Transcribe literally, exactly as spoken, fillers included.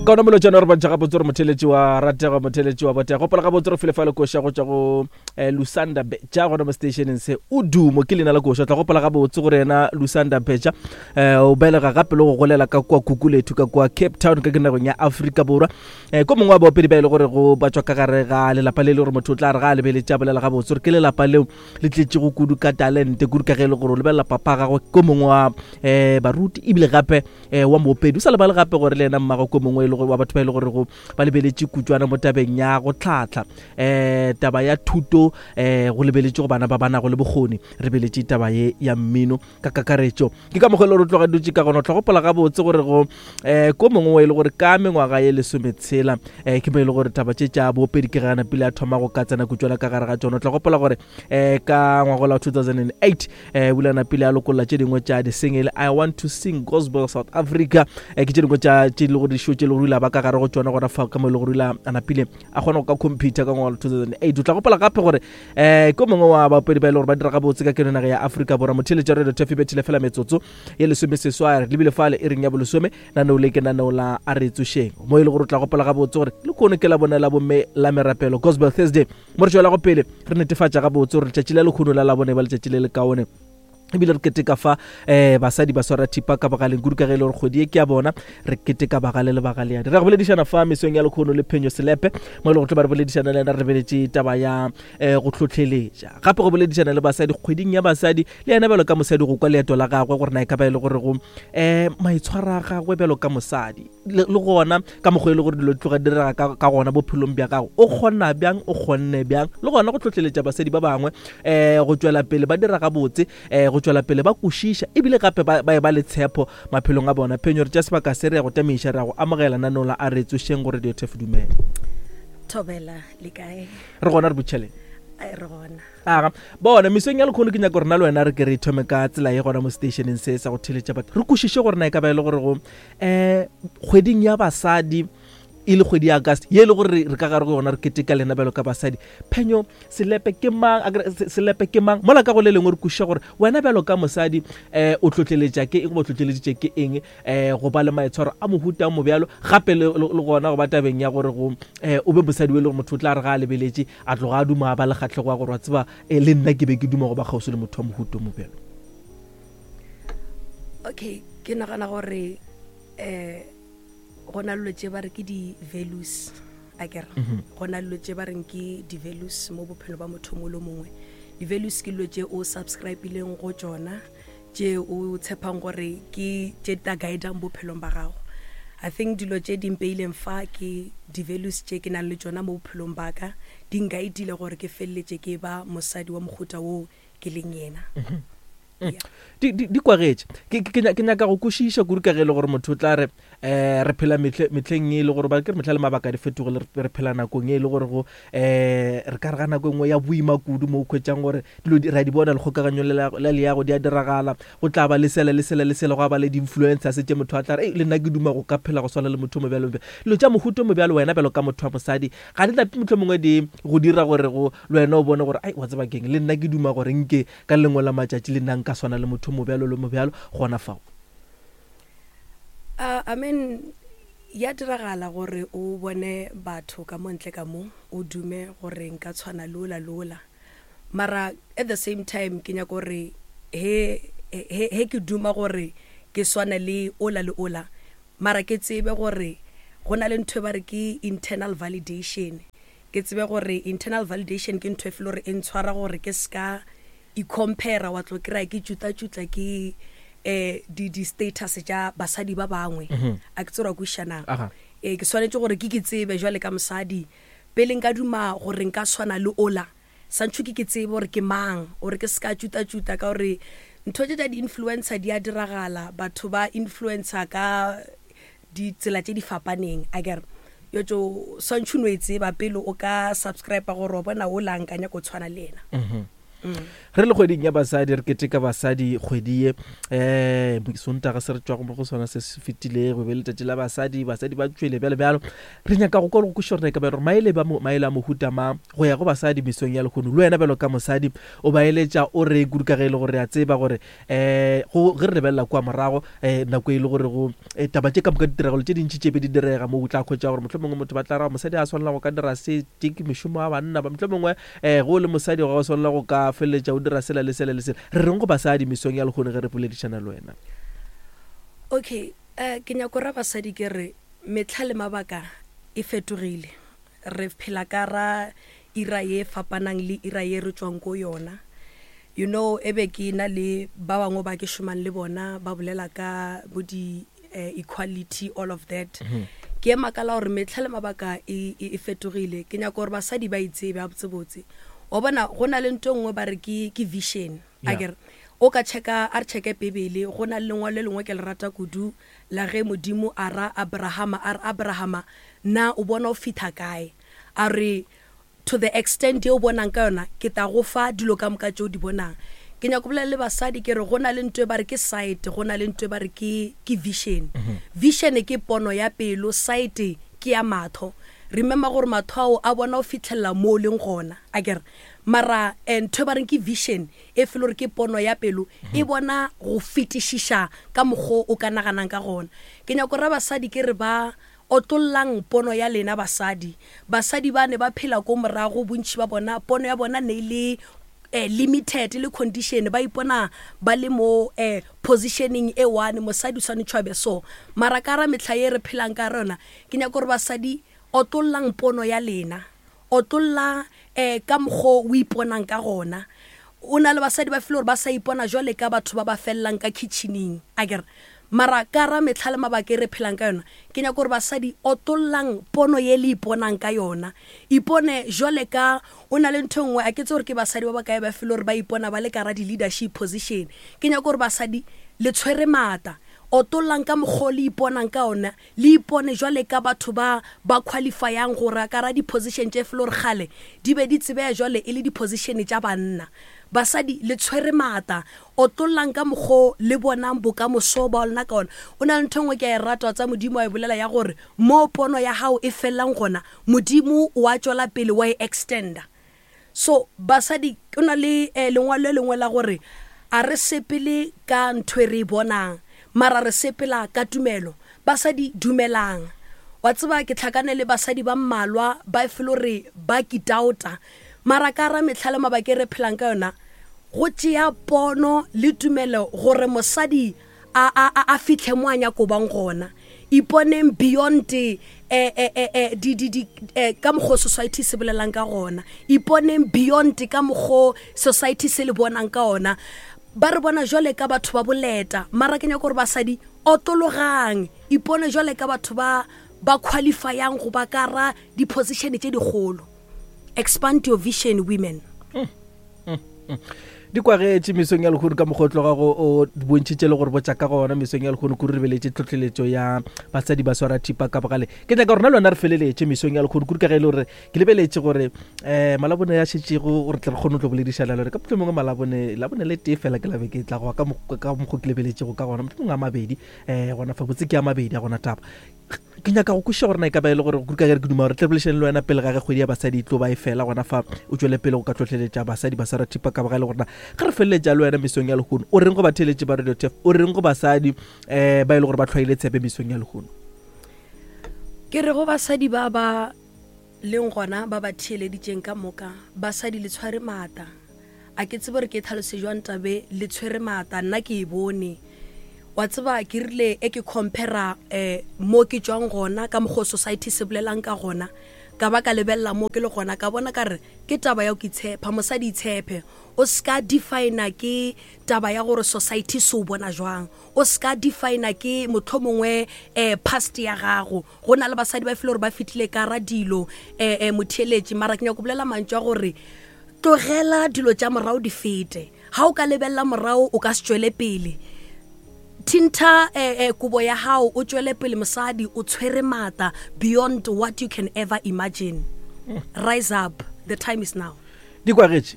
Ka ona molotšana re bontšha gabotse gore motheletši wa ratega, motheletši wa botega. Gopola gabotse re file fa le koša go tšwa go eh, Lusanda Betša gona mo stationeng se. O dumo ke leina la koša. Tla gopola gabotse gore yena Lusanda Betša eh, o belega gape le go golela ka kua Kukulethu ka kua Cape Town ka ke nageng ya Afrika Borwa. eh, ko mongwe wa baopedi ba e le gore go ba tšwa ka gare ga lelapa le le gore motho o tla re ga a lebeletše a bolela gabotse gore ke lelapa leo le tletšego kudu ka talente, kudu ka ge e le gore o lebelela papa gagwe ko mongwe wa um baruti ebile gape um wa moopedi. O sa lebale gape gore le yena mmago ko mongwe e le gore wa batho ba e le gore go ba lebeletše kutswana mo tabeng ya go tlhatlha um taba ya thuto, um go lebeletše go bana ba ba nago le bokgoni, re beletše taba ye ya mmino ka kakaretšo. Ke ka mokgwa e le gore o tloga dutše ka gona. O tla gopola gabotse gore go um ko mongwe e le gore ka mengwaga ye lesometshela um ke mo e le gore taba tše tša boopedi ke gana pele a thoma go ka tsena kutswana ka gare ga tšona. O tla gopola gore um ka ngwagola wa two thousand eight um bulana pele a lokolla tše dingwe tša di-single I Want to Sing Gospel South Africa, um ke tše dingwe tša tše le gore dišo tše le gore o ile a ba ka gare go tšona gona fa ka mo e le gore o ile a napile a kgona go ka computer ka ngwaga wa two thousand eight. O tla gopola gape gore um ko mongwe wa baopedi ba e le gore ba dira gabotse ka keno naga ya Afrika Borwa. Motheletša Radio Tafi bethile fela metsotso ye lesomeseswai re lebile fale e reng ya bolesome. Naneo le ke naneo la a re tsošeng mo e le gore o tla gopola gabotse gore le kono ke la bone la bomme la merapelo Gospel Thursday, mo re tšwelago pele re netefatša gabotse gore letšatši la lekgono la labone ba letšatši le le kaone, ebile re keteka fa um basadi ba swara thipa ka bogaleng kudu ka ge e le gore kgwedi e ke ya bona, re keteka bagale le bagaleadi. Re ya go boledišana fa mesong ya lekgono le Phenyo Selepe mo e le go tlo ba re boledišana le yena re lebeletše taba ya um go tlhotlheletša gape go boledišana le basadi kgweding ya basadi, le yena bjalo ka mosadi go kwa leeto la gagwe gore na e ka ba e le gore go um maitshwaro a gagwe bjalo ka mosadi le gona ka mokgwa e le gore dilo di tloga di direga ka, ka gona bophelong bja gago, o kgona bjang, o kgonne bjang, le gona go tlhotlheletša basadi ba bangwe um go tšwela pele ba dira gabotse, um go tšwela pele ba kwešiša ebile gape ba ba e ba le tshepo maphelong a bona. Phenyo, re tša sebaka se re ya go tamiša, re ya go amogela naneo la a re tsošeng go Radio Turf. Dumela. Thobela, le kae? Re gona, re botšheleng. Ai, re gona. Aga bona mesong ya lekgono ke nyaka gore na le wena re ke re thome ka tsela ye gona mo stationeng se sa go theletša batho, re kwešiše gore na e ka ba e le gore go um kgweding ya basadi e le kgwedi ya August ye e le gore re ka gare go yona re keteka lena bjalo ka basadi. Phenyo Selepe ke mang? Selepe ke mang? Mola ka go le lengwe re kwešiša gore wena bjalo ka mosadi um o tlotleletša ke eng goba o tlotleleditše ke eng um go ba le maitshwaro a mohuta mo bjalo, gape le gona go ba tabeng ya gore go um o be mosadi o e le gore motho o tla re ga a lebeletše a tloga a duma a ba le kgatlhego ya gore wa tseba le nna ke be ke duma go ba kgauswi le motho wa mohuta mo bjalo. Okay, ke nagana gore um go na le tše ba re ke di-values akere, go na le tše ba reng ke di-values mo bophelo ba motho mo le mongwe. Di-values ke dilo tše o subscribe-ileng go tšona, tše o tshepang gore ke tše di tla guidang bophelong ba gago. I think dilo tše di mpeileng fa ke di-values tše ke nang le tšona mo bophelong ba ka, di nkaetile gore ke feleletše ke ba mosadi wa mohuta wo ke leng yena. Di, di, di kwagetše. Ke, ke, ke nyaka go kwešiša kudu ka ge e le gore motho o tla re um re phela mehle, mehleng e le gore ba ke re mehla le mabaka di fetogile, re phela nakong e le gore go um re ka re ga nako e nngwe ya boima kudu mo o hwetšang gore dilo di, re a di bona lekgokaganyo le la leago di a diragala, go tla ba le sela le sela le sela, go a ba le di-influencers tše motho a tla re le nna ke duma go ka phela go swana le motho mo bjalo bjalo. Dilo tša mohuta mo bjalo wena bjalo ka motho wa mosadi ga di nape mohlomongwe mongwe di go dira gore go le wena o bone gore ai wa tseba keng, le nna ke duma gore nke ka lengwe la matšatši le nna nka swana le motho mo bjalo le mo bjalo gona fao. Uh, I mean, ya diragala gore o bone batho ka mo ntle ka mo o dume gore nka tshwana le ola le ola, mara at the same time ke nyaka gore he he he ke duma gore ke swane le ola le ola, mara ke tsebe gore go na le ntho e ba re ke internal validation. Ke tsebe gore internal validation ke ntho e fele gore e ntshwara gore ke ska i-compare wa tlo kry-a ke tšutla-tšutla ke eh di di status tša basadi ba bangwe. A ke tsere wa kwešiša na? Eh ke swanetše gore ke ke tsebe jwale ka mosadi pele nka duma gore nka tshwana le ola, santšho ke ke tsebe gore ke mang, gore ke ska tšuta-tšuta ka gore ntho tše tša di-influencer di a diragala, batho ba influencer ka ditsela tše di fapaneng akere. Yo tšo swantšho no e tseba pele o ka subscribe gore wa bona ola nka nyaka go tshwana le yena. Mm-hmm. Re le kgweding ya basadi, re keteka basadi kgwedi ye. Um Sontaga se re tšwago mo go sona se se fetilego be letšatši la basadi, basadi ba tšwele bjalo bjalo. Re nyaka go kwa le go kwešiša gore e ka ba gore maele ba maele a mohuta mang go ya go basadi mesong ya lehono. Le wena bjalo ka mosadi o ba eletša o re kudu, ka ge e le gore re a tseba gore um go ge re lebelela kua morago um nako e le gore go taba tše ka moka, ditiragalo tše dintši tše be di direga mo, o tla hwetša gore mohlomongwe motho ba tla ra mosadi a swanela go ka dira se, tše ke mešomo ya banna ba, mohlomongwe um go le mosadi ga o swanela go ka feleletša o dira sela le sela le sela. Re reng go basadi mesong ya lehono ge re boledišana le wena? Okay, uh, ke nyako ra basadi ke re metlha le mabaka e fetogile. Re phela ka ra ira ye fapanang le ira ye re tswang ko yona. You know, e be ke na le ba bangwe ba ke šomang le bona, ba bolela ka bo di uh, equality, all of that. mm -hmm. Ke ema ka la gore metlha le mabaka e, e, e fetogile. Ke nyaka gore basadi ba itsebe a botsebotse. Wa bona, go na le ntho e nngwe ba re ke ke vision. A kere o ka checka, a re checke Bibele, go na le lengwalo le lengwe ke le rata kudu la ge Modimo a ra Abrahama, a re, "Abrahama, na o bona o fitha kae?" A re, "To the extent ye o bonang ka yona, ke tla go fa dilo ka moka tšeo di bonang." Ke nyaka bolela le basadi ke re go na le ntho e ba re ke sight, go na le ntho e ba re ke ke vision. Vision ke pono ya pelo, sight ke ya matho. Remember gore matho ao a bona o fitlhelela mo o leng gona, a kere? Mara eh, ntho e ba reng ke vision, e fele gore ke pono ya pelo, e bona go fetišiša ka mokgwa o ka naganang ka gona. Ke nyako ra basadi ke re ba otlollang pono ya lena. Basadi, basadi ba ne ba phela ko morago, bontši ba bona pono ya bona ne e le eh, limited le condition, ba ipona ba le mo eh, positioning e one, mosadi o swanetše a be so. Mara ka ra metlha ye re phelang ka rona, ke nyaka gore basadi otlollang pono ya lena, otlolla eh, ka mokgwa o iponang ka gona. O na le basadi ba fele gore ba sa ipona jwale ka batho ba ba felelang ka kitchening, a kere? Mara ka ra metlha le mabaka e re phelang ka yona, ke nyaka gore basadi otlollang pono ye le iponang ka yona. Ipone jwale ka o na le ntho e nngwe, a ke tse gore ke basadi ba bakae ba fele gore ba ipona ba le ka ra di-leadership position. Ke nyaka gore basadi le tshwere maatla, otollang ka mokgwa o le iponang ka ona, le ipone jwale ka batho ba ba qualifyang gore a ka ra di-position tše fele gore kgale di be di tsebeya jwale e le di-position tša banna. Basadi le tshwere maatla, otlollang ka mokgwa le bonang bokamoso ba lona ka ona. O na le ntho e nngwe ke a e rata tsa Modimo wa e bolela ya gore mo pono ya gago e felelang gona, Modimo wa tšwela pele wa e extenda. So basadi, o na le eh, lengwalo le lengwe la gore a re sepele ka ntho e re e bonang, mara re sepela ka tumelo. Basadi dumelang. Wa tseba, ke tlhakane le basadi ba mmalwa ba e fele gore ba kitaota, mara ka ra metlha le mabaka e re phelang ka yona, go tšea pono le tumelo gore mosadi a, a, a, a fitlhe mo a nyako bang gona. Iponeng beyond eh, eh, eh, eh, di, di, di, eh, ka mokgwa society se bolelang ka gona. Iponeng beyond ka mokgwa society se le bonang ka ona. Ba re bona jwale ka batho ba boleta, mara ke nyaka gore basadi otologang, ipone jwale ka batho ba ba qualifyang go ba ka ra di-position tše dikgolo. Expand your vision, women. Di kwagetše mesong ya lehono ka mokgwa o tloga go o bontšhitše le gore botša ka gona mesong ya lehono. Kudu re beletše tlhotlheletšo ya basadi ba swara thipa ka bogale. Ke nyaka rona le wena re feleletše mesong ya lehono, kudu ka ge e le gore ke lebeletše gore um Malabone ya šetšego gore tle re kgone go tlo boledišana le gore ka mohlomongwe Malabone, Labone le tee fela ke labe ke tla goa ka mokgwa ke lebeletšego ka gona, mohlomongwe a mabedi um gona fa botse ke a mabedi a gona. Taba ke nyaka go kwešiša gore na e ka ba e le gore, kudu ka ge re ke duma gore tle boledišane le wena pele ga ge kgwedi ya basadi e tlo ba e fela gona fa, o tšwele pele go ka tlhotlheletša basadi ba swara thipa ka bogale, gore na ge re feleletša le wena mesong ya lehono o reng go batheeletši ba Radio Tef, o reng go basadi um ba e le gore ba tlhwaile tshepe mesong ya lehono? Ke re go basadi ba ba leng gona, ba ba theeleditšeng ka moka, basadi le tshware maatla. A ke tsebe gore ke tlhalose jwang tabe le tshwere maatla. Nna ke e bone, wa tseba, ke rile e ke compara um mo ke tswang gona ka mokgwa society se bolelang ka gona, ka ba ka lebelela mo ke le gona, ka bona ka re ke taba ya go itshepa. Mosadi itshepe, o ska defina ke taba ya gore society se o bona jwang, o ska defina ke mohlomongwe um past ya gago. Go na le basadi ba fele gore ba fitlhile ka ra dilo um motheeletši, mara ke nyaka go bolela mantšu a gore tlogela dilo tša morago di fete. Ga o ka lebelela morago o ka se tšwele pele. Tintha eh, eh, kobo ya gago o tšwele pele. Mosadi o tshwere maatla beyond what you can ever imagine. Rise up, the time is now. Di kwagetše.